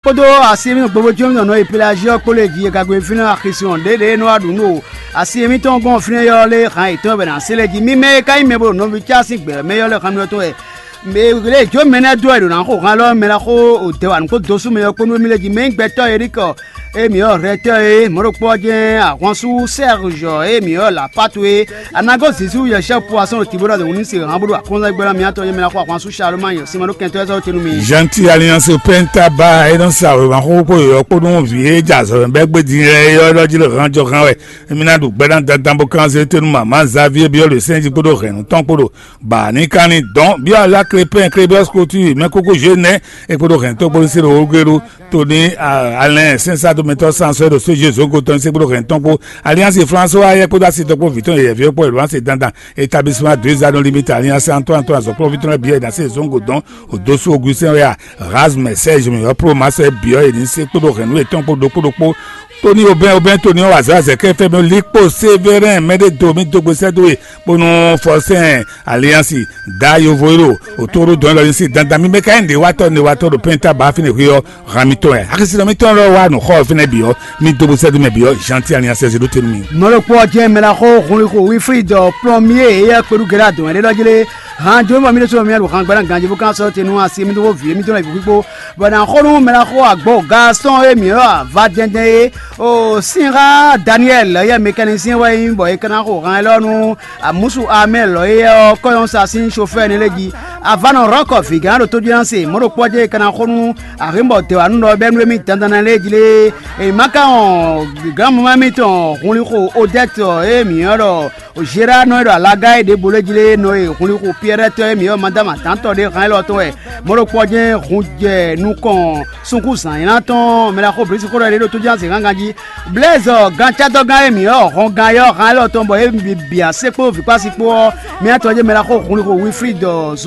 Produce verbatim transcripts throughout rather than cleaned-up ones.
kpódó asi émítɔn gbogbo jí émítɔn nɔ yi Pelazi ɔ́ kpó lě jí e ka gbe fínɛ́ axisɔn ɖěɖě e nɔ wá ɖu nú o asi émítɔn gɔ́n fínɛ́ ɔ́ lé hǎn yětɔn wɛ ná se lɛ́ jí. Mí mɛ e ka nyí mɛ bo ɖo nɔví cá sín gbɛ̌ mɛ ɔ́ lɛ́ xá mì ɔ́ tɔn wɛ. Mɛ lě jó mɛ nɛ́ dó wɛ ɖo nǎ xo han lɔ mɛ ná xo o dɛ wa nǔ kpó dosú mɛ ɔ́ kpó nú émí lé jí. Mɛ nyí gbɛtɔ́ e ɖi kɔ émí ɔ́ hɛtɔ́ e mɔ̌ ɖokpó ɔ́ jɛ́n ahwansú Sɛ́ruzɔ émí ɔ́ lǎ patu e Anago Zizu yɛ chef poisson ɖo Tibora de wunu se han bó ɖo akɔnzan gbɛ́ ná mǐtɔn yɛ mɛ ná xo ahwansú Salomani ɔ́ sinma ɖó kɛntɔ́ ɛ sɔ́ tenu mi. Gentil Alliance Penta ba é nɔ sa wěma xóxó kpó yɔ̌yɔ́ kpó nú vǐ e jɛ azɔ̌ mɛ bɛ́ gbé din lɛ́ɛ é ɔ́ ɖɔ jí lé han jɔ han wɛ. Émí ná ɖu gbɛ́ ná dandan bó kán zé tónú mamá Xavier byɔ́ ɖo sɛ́n jí kpódó hɛ̌nnu tɔn kpó ɖo ba ní kán ní dɔn byɔ́ alá Krépɛn Krébɛ́s Klotúi mɛ kókó Zhénɛ́ é kpódó hɛ̌nnu tɔn kpó ní sé ɖo Olugélu Tony Alɛn sɛ́nsádomɛtɔ́ Sansɔ́ ɖo só Jézu gotɔn ní sé kpódó hɛ̌nnu tɔn kpó Alliance François ayɛ kpódó asi tɔn kpó vǐ tɔn yɛyɛ̌ví ɔ́ kpó è ɖo wǎn se dandan. Établissement deux anneaux limite Alliance Antoine Antoine azɔ̌kplɔ́nví tɔn lɛ́ɛ bǐ wɛ è nǎ se zɔ̌n gǒ dɔn o dó sú Augustin wɛ a Razmɛ Serge mǐ ɔ́ Plomasɛ bǐ ɔ́ è nǐ se kpódó hɛ̌nnu yětɔn kpó ɖokpó ɖokpó. Tóní Obɛ́n Obɛ́n Tóní ɔ́ wa azɔ̌ azɛ̌kɛ́ fɛ́ mɛ Likpo Sévérin mɛɖé do mì dó gbe sɛ́ dó we bónú Fɔsɛ́n Aliansi da yovo e ɖo òtóɖó dɔn élɔ́ ní sí dandan mì mɛ ka nyí nǔɖéwatɔ́ nǔɖéwatɔ́ ɖo pɛ́nta ba fínɛ́ hwe ɔ́ han mitɔn wɛ. Axisínɔ mitɔn lɔ wá nǔ xɔ ɔ́ fínɛ́ bǐ ɔ́, mì dó gbe sɛ́ dó mɛ bǐ ɔ́, Jean-Ti Aliansi ɔ́ zé ɖó te nú mi. Mɔ̌ ɖokpó ɔ́ jɛ́n mɛ ná xo hunlixo Wilfrid Plɔmié e yɛ kpeɖú Gɛ́ɖá dɔn ɛɖé ɖɔ jí lé. Han jó bɔ mì ɖésú mì ɖo han gbɛ́ ná ganjí bó ká sɔ́ te nú asi mì dó xó vǐ émítɔn lɛ́ɛ bǐ xwíxwó, bɔ è nǎ xo nú mɛ ná xo agbǒ Gaston e mǐ ylɔ́ avadɛndɛn é. O Sinxa Daniɛl yɛ mɛkɛnisɛn wɛ nyí bɔ è ka ná xo han élɔ́ nú amǔsu Amɛ́ lɔ̌ éyɛ́ ɔ́ kɔ́nyɔ́sa sín sofɛ́ɛ énɛ́ lɛ́ɛ jí. Avánɔ Rɔ́kɔ vǐgán ɖo tójínase mɔ̌ ɖokpó ɔ́ jɛ́n è ka ná xo nú ahinbɔ dɛwǎnú ɖɔ bɛ́nú émí dandan lɛ́ɛ jí lé. È má ka wɔn gǎnmamá émítɔn hunlixo Odɛ́t e mǐ ylɔ́ ɖɔ Zerá nɔ e ɖo alaga e ɖěbǔ lɛ́ɛ jí lé nɔ e hunlixo Piyɛ́rɛ́tɔ́ e mǐ ylɔ́ Madáma Dǎntɔ́ ɖé hán élɔ́ tɔn wɛ. Mɔ̌ ɖokpó ɔ́ jɛ́n hun jɛ nukɔn sunkúnzǎn nylá tɔn mɛ ná xo blǐsíxó ɖɔ é ɖo tójínase gángan jí. Blɛ́zɔ gancátɔ́gán e mǐ ylɔ́ hɔngán yɔ́ hán élɔ́ tɔn bɔ é bǐ bǐ asé kpó vǐkpásí kpó ɔ́, mì atɔn jɛ́n mɛ ná xo hunlixo Wilfrid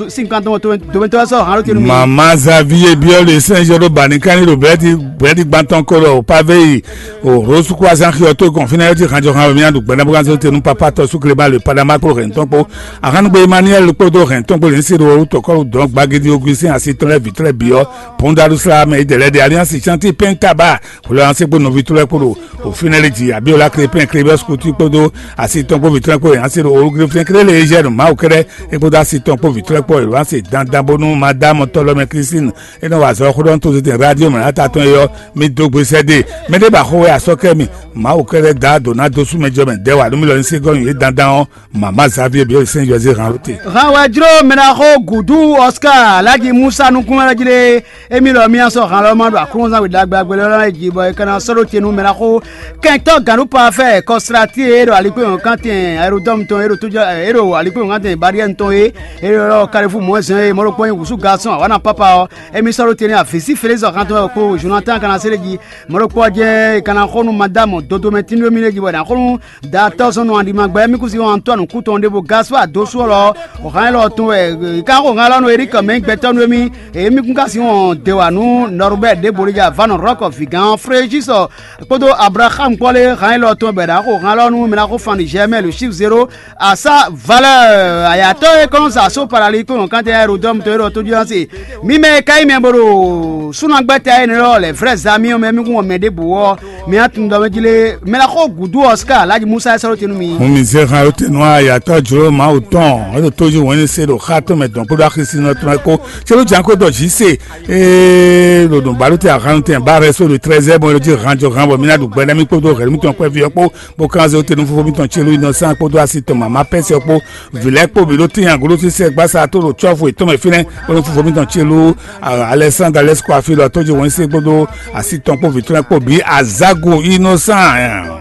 sínkantɔn domɛtɔ́ sɔ́ hán ló tenu mì. Mama Xavier biɔ le sɛn jɔ ɖo bani kan ɖo bɛdi bɛdi gbantɔn ko ɖo pavé yi o Rose Croissant xi ɔtó gɔn fínɛ yɔ ti hanjɔ han mì adu gbɛnɛ bó kan sɔ tenu papa tɔ sukle ba le padama kpó hɛn tɔn kpó ahanugbe Emmanuel kpódó hɛn tɔn kpó le nsi ɖo tɔkɔlu dɔn gbagidi Augustin asi tɔn lɛ vitɔ lɛ biɔ Pondalusla mɛ idɛ lɛ de Alliance Chantier Penta ba Florence kpó nɔvi tɔn lɛ kpó ɖo òfin lɛ jí Abiola Crépin Crébes Coutu kpódó asi tɔn kpó vitɔ lɛ kpó yɛn asi ɖo olugre fɛn kéré le Eugène Mawu kɛɖɛ é kpódó asi tɔn kpó vitɔ lɛ kpó yɛn asi dandan bónú madame tɔlɔmɛ Christine é nɔ wa azɔ̌ xó ɖɔ tó tete radio mɛ ata tɔn yɔ mi dó gbe sɛ dé mɛ ɖé ba xó wɛ asɔ kɛ mi Mawu kɛɖɛ da do ná dó sú mɛ jɔ mɛ dɛ wa nú mi lɔ ní sí gɔ́ nyi yě dandan ɔ́ Mama Xavier biɔ sɛn José han lóte. Han wɛ jló mɛ ná xó gǔdú Oscar Alhaji Musa nukún wɛ jí lé. Émí lɔ mía sɔ́ han lɔ ma ɖo Aklúnɔzán we ɖagbe agbe lɔ lɛ́ɛ jí bɔ è ka ná sɔ́ ɖó te nú mɛ ná xó kɛntɔ́ gǎnɖú parfait Kɔsláti e ɖo alikpéwɔ́nkántɛn Aerodɔmu tɔn e ɖo tójɔ e ɖo alikpéwɔ́nkántɛn Bariɛ́nu tɔn e e ɖo Kalifu mɔ̌zɛn e mɔ̌ ɖokpó nyí wǔsú Gasɔn awǎna pápá ɔ́. Émí sɔ́ ɖó te nú avǐsí Felísi Xantɔn wɛ kpo Jonatán ka ná se ɖé jí. Mɔ̌ ɖokpó ɔ́ jɛ́n è ka ná xó nú Madámu Dodomɛtínu émí lɛ́ɛ jí bɔ è nǎ xó nú Datɔ́ zɔn nɔ aɖima gbɛ mí kún si wɔn Antoine kú tɔn ɖěvo Gaspard dó sú ɔlɔ. Hɔn élɔ́ tɔn wɛ ká xo hɛn alɔ nú Eric mɛ gbɛtɔ́ nú émí. Èyí mí kún ká si wɔn dě wà nú Norbert ɖěvo ɖé ja Vanɔ Rɔ́kɔ vǐgán Frejisɔ kpódó Abraham kpɔ́ lé hɛn élɔ́ tɔn bɛ̌ ɖá xo hɛn alɔ nú mɛ ná xó fan ɖi Germain le chiffre zéro. Asa valeur ayatɔ e kɔn sa so parali kɔn kan tɛ aérodrome to yɔrɔ to jɔ se. Mi mɛ ka yi mɛ boro sunagbe ta ene lɔ les vrais amis mɛ mi kun mɛ de bo wɔ. Mi atun dɔ mɛ jile mɛ la xo gudu Oscar Alhaji Musa sɔrɔ tenu mi. Mo mi zɛ han yote nɔ ayatɔ jlo Mawu tɔn e ɖo toji wɔnyi se ɖo xa tɔn mɛ dɔn kpódó axisi nɔ tɔn ko tse ló jan ko dɔ zi se ee ɖo dɔn balo te ahanu tɛ ba rɛ so ɖo trɛzɛ bɔn e ɖo ji han jɔ han bɔ mi na ɖu gbɛ na mi kpódó hɛrɛ mi tɔn kpɛvi ɔkpó bó kan zé wóte nú fofó mitɔn Celu Innocent kpódó asi tɔn mama Pɛsi ɔ́ kpó vǐ lɛ́ɛ kpó bǐ ɖó tíin aglo sísɛ gbasa tó ɖo cɔ́fu yětɔn mɛ fínɛ́ kpódó fofó mitɔn Celu Alexandre Alexco Afilɔ tó jí wɛnsi kpódó asi tɔn kpó vǐ tɔn lɛ́ɛ kpó bǐ Azago Innocent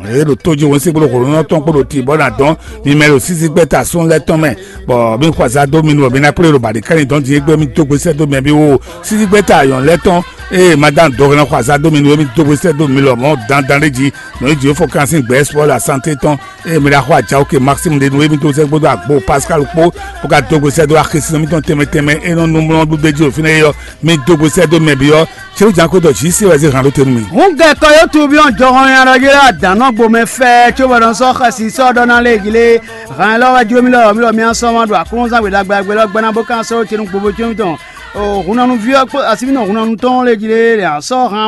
e ɖo tó jí wɛnsi kpódó xolónɔ tɔn kpó ɖo tibɔ ná dɔn mi mɛ ɖo sísí gbɛ́ta sún lɛ́ɛ tɔn mɛ bɔ mi xɔ azá dó mi nu bɔ mi ná kplé ɖo bǎɖí kɛ́nyi dɔn din égbé mi dó gbésɛ dó mɛ bí wo sísí gbɛ́ta yɔn lɛ́ɛ tɔn eye madame dɔgɔnɔ xɔ azá dó mi nu émi dó gbésɛ dó mi lɔ mɔ dandan ɖé jí nɔ yi jǐ fɔ kan sín gbɛ sport la santé tɔn eye mi ɖa xɔ ajawo ke Maxime ɖe nu émi dó sɛ gbódó agbo Pascal kpó bó ka dó gbésɛ dó axisi nɔ mitɔn tɛmɛ tɛmɛ e nɔ numlɔ ɖu ɖe jí o fínɛ́ yɔ mi dó gbésɛ dó mɛ bi ɔ tsi jan ko dɔ jí se wɛ zé hàn ɖó tenu mi. Hungɛ kɔ yóò tu bí ɔn jɔhɔn ya ɖɔ yé la dàn nɔ gbomɛ fɛ tso bɔ nɔ sɔ xɛsi sɔ ɖɔ na lé gilé hàn lɔ wɛ jlo mi lɔ mi lɔ mi asɔ ma ɖo aklúnzán gbedagbe agbe lɔ gbɛna bó kan sɔ tenu gbogbo tso mi tɔn Hunnanúví ɔ́ kpó asínínɔ hunnanú tɔn ɔ́ lɛ́ɛ jí lé lɛ̌ ǎ sɔ́ han